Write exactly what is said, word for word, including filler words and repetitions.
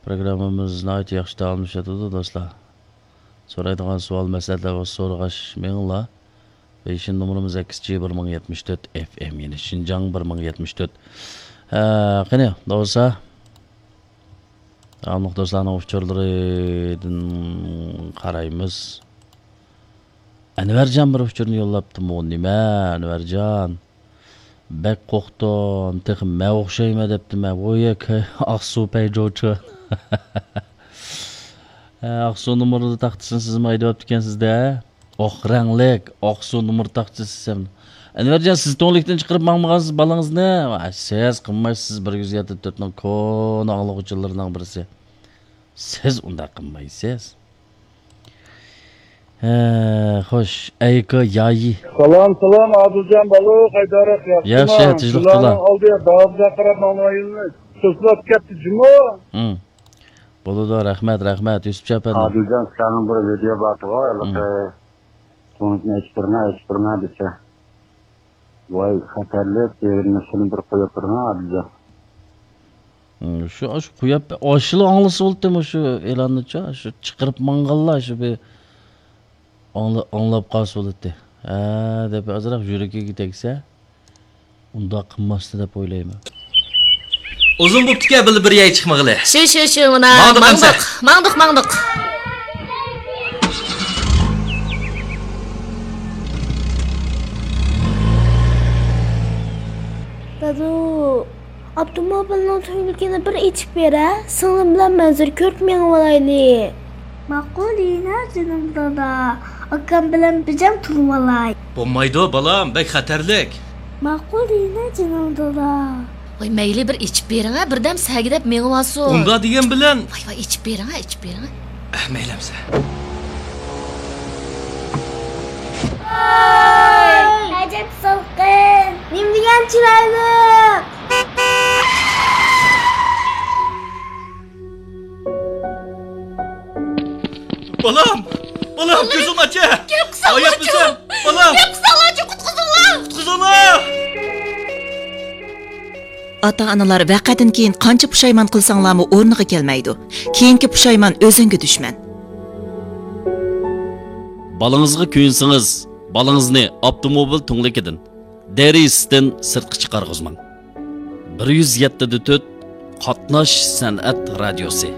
پروگراممىمىز ناھايىتى ياخشى داۋاملىشىۋاتىدۇ، دوستلار. سورايدىغان سوئال، مەسلىھەتلەر بولسا سورىغاچ مېڭىڭلار. پېيىن نومۇرىمىز سەككىز جى بىر مىڭ يەتمىش تۆت ئېف ئېم، يەنى شىنجاڭ بىر مىڭ يەتمىش تۆت. ھە، قېنى، بولسا، داۋاملىق دوستلارنىڭ ئۇچۇرلىرىدىن قارايمىز. ئەنۋەرجان بىر ئۇچۇرنى يوللاپتىمۇ؟ نېمە، ئەنۋەرجان؟ بەك قوقتۇم، تېخى مەن ئوخشايمەن دەپتىمەن. ۋويەك، ئاقسۇ پەيجوچى. ھە، ئاقسۇ نومۇرلىرى تاختىسىنى سىزمۇ ھەيدەۋاپتىكەنسىز-دە. ئاق رەڭلىك، ئاقسۇ نومۇر تاختىسى سىزەم. ئەنۋەرجان، سىز تۈڭلۈكتىن چىقىرىپ ماڭمىغانسىز بالىڭىزنى؟ ۋاي، سىز قىلمايسىز، بىر يۈز يەتتە تۆتنىڭ كونا ئاڭلىغۇچىلىرىنىڭ بىرسى. سىز ئۇنداق قىلمايسىز. ھە، خوش، ئەيكا يايى. سالام، سالام، ئادىلجان بالۇ، قايداراق، ياخشىما؟ ياخشى، تىنچلىق تولا. سىلەرنىڭ ئالدىغا بازارغا قاراپ ماڭغان يولنى توسۇلۇپ كەتتى جۇمۇ. ھىم. بولىدۇ، رەھمەت، رەھمەت، يۈسۈپجان ئەپەندىم. ئادىلجان، سىلەرنىڭ بىر ۋىدېو بار، ھېلىقى، ھىم، تۇڭلۇقنى ئېچىپ بېرىڭە، ئېچىپ بېرىڭە دېسە. ۋاي، خەتەرلىك، دېگىنىنى سېلىپ بىر قويۇپ بېرىڭە، ئادىلجان. ھىم، شۇ، شۇ قويۇپ، ئاشۇلا ئاڭلىسا بولاتتىمۇ شۇ ئېلاننىچۇ، شۇ چىقىرىپ ماڭغانلار شۇ بىر ئاڭلا-، ئاڭلاپ قالسا بولاتتى. ھە، دەپ ئازراق يۈرىكىگە تەگسە، ئۇنداق قىلماستى دەپ ئويلايمەن. ئۇزۇن بوپتىكەن بىللە بىر يەرگە چىقمىغىلى. شۇ، شۇ، شۇ، مانا، ماڭدۇق ماڭدۇق، ئەمسە. ماڭدۇق، ماڭدۇق. دادۇ، ئاپتوموبىلنىڭ تۈڭلۈكىنى بىر ئېچىپ بېرە، سىڭلىم بىلەن مەنزىرە كۆرۈپ مېڭىۋالايلى. ماقۇل دېگىنە جېنىم دادا، ئاكام بىلەن بىر جام تۇرۇۋالاي. بولمايدۇ بالام، بەك خەتەرلىك. ماقۇل دېگىنە جېنىم دادا. ۋاي مەيلى، بىر ئېچىپ بېرىڭە، بىردەم سەگىدەپ مېڭىۋالسۇن. ئۇنداق دېگەن بىلەن. ۋاي ۋاي، ئېچىپ بېرىڭە، ئېچىپ بېرىڭە. ئەھ، مەيلى ئەمسە. ۋاي، ئەجەب سالقىن. نېمە دېگەن چىرايلىق. بالام! بالام، كۆزۈڭنى ئاچ! گەپ قىلساڭلارچۇ! بالام! گەپ قىلساڭلارچۇ، قۇتقۇزۇڭلار! قۇتقۇزۇڭلار! ئاتا-ئانىلار ۋەقەدىن كېيىن قانچە پۇشايمان قىلساڭلارمۇ ئورنىغا كەلمەيدۇ. كېيىنكى پۇشايمان ئۆزۈڭگە دۈشمەن. بالىڭىزغا كۆيۈنسىڭىز، بالىڭىزنى ئاپتوموبىل تۈڭلۈكىدىن، دېرىزىسىدىن سىرتقا چىقارغۇزماڭ. بىر يۈز يەتتە دە تۆت قاتناش سەنئەت رادىيوسى.